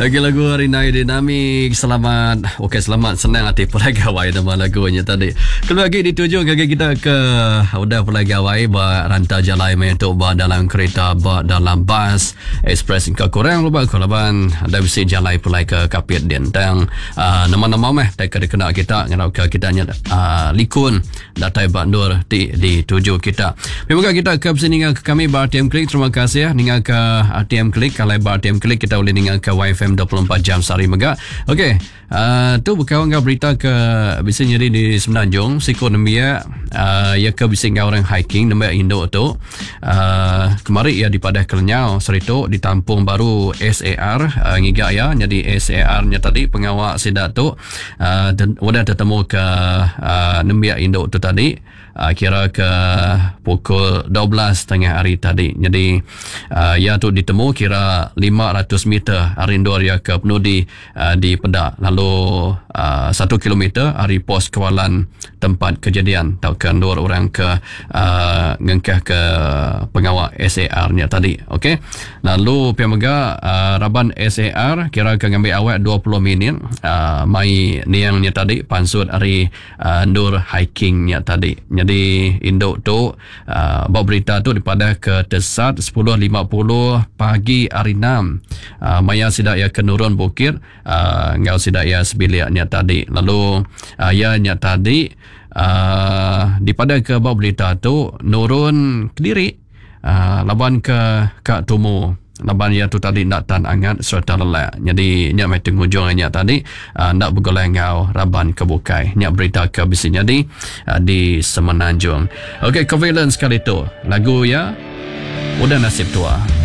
Lagi lagu hari nai dinamik selamat. Okey selamat senang ati pulai gawai nama lagu nya tadi. Kelebih agi dituju ngagai kita ke udah pulai gawai ba rantau jalai maya tu ba dalam kereta ba dalam bas express engka kurang luba ko laban ada bisi jalai pulai ke Kapit din. Tang uh, nama-nama meh tai ke dikena kita ngarapka kita nya uh, likun datai ba endur ti dituju kita. Mega kita ke bisi ninga ke kami ba RTM Click terima kasih ninga ke RTM Click kalau ba RTM Click kita boleh ninga ke YFM 24 jam sehari mega. Okey, uh, tu bekau enggau berita ke bisi nyadi di Semenanjung siku nembiak uh, ya ke bisi enggau orang hiking nembiak indu tu uh, kemari ia dipadah ke lenyau seritu ditampung baru SAR uh, ngiga ia nyadi SAR nya tadi pengawa sida tu udah tetemu ke nembiak indu tu tadi kira ke pukul 12 tengah hari tadi. Jadi iya tu ditemu kira 500 meter ari endur iya ke penudi di peda lalu 1 kilometer ari pos kawalan tempat kejadian tauka endur orang ke ngengkah ke pengawa SAR nya tadi. Okey. Lalu pia mega raban SAR kira ke ngambi awak 20 minit mai niang nya tadi pansut ari endur hiking nya tadi. Nyadi indu tu ba berita tu dipadah ke tesat 10.50 pagi hari 6 maya sida iya ke nurun bukit enggau sida iya sebilik nya tadi. Lalu iya nya tadi dipadah ke ba berita tu nurun kediri. Laban ke ka tumu laban iya tu tadi enda tan angat sereta lelak. Nyadi nya meh tengujung iya nya tadi enda begulai enggau raban ke bukai. Nya berita ke bisi nyadi di Semenanjung. Okey Covalent sekali tu lagu iya Udah Nasib Tua.